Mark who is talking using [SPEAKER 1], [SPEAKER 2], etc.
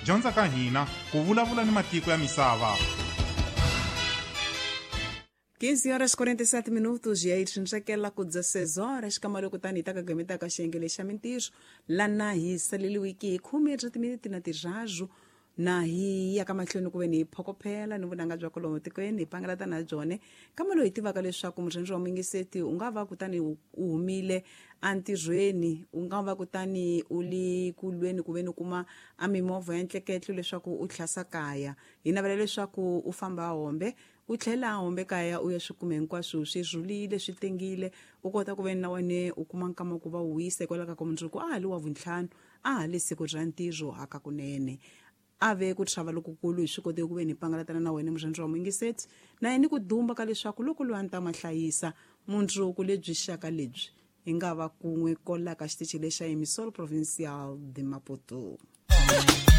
[SPEAKER 1] Dyondza ka hina ku vulavula ni matiko ya misava.
[SPEAKER 2] 15 horas 47 minutos e aí tinxakela ku 16 horas kamalo kutani hi ta kagametaka xiyenge lexa mintirho lana hi saleliwiki hi khume ra timinete na tirharu na hi ya ka mahlweni ku ve ni hi phokophela ni vunanga bya kolomo tikweni hi pangalata na byone kambe loyi hi tivaka leswaku murhandzi wa muyingiseti u nga va kutani u humile entirhweni, u nga va kutani u li ku lweni ku ve ni kuma a mimovha ya ntleketlo leswaku u tlhasa kaya. Hi navela leswaku u famba hombe u tlhela hombe kaya u ya swi kume hinkwaswo swi rhulile swi tengile, u kota ku ve na wena u kuma nkama ku va u wisa hikwalaho ka ku mundzuku a ha li wa vuntlhanu, a ha li siku ra ntirho hakakunene. A ve ku chava lokukulu hi swi kote ku ve ni pangalatana na wena murhandzi wa muyingiseti na yena ku dumba ka leswaku loko loyi a ni ta ma hlayisa mundzuku lebyi xaka lebyi hi nga va kun'we kolaka xitichi lexa Emissora Provincial de Maputo.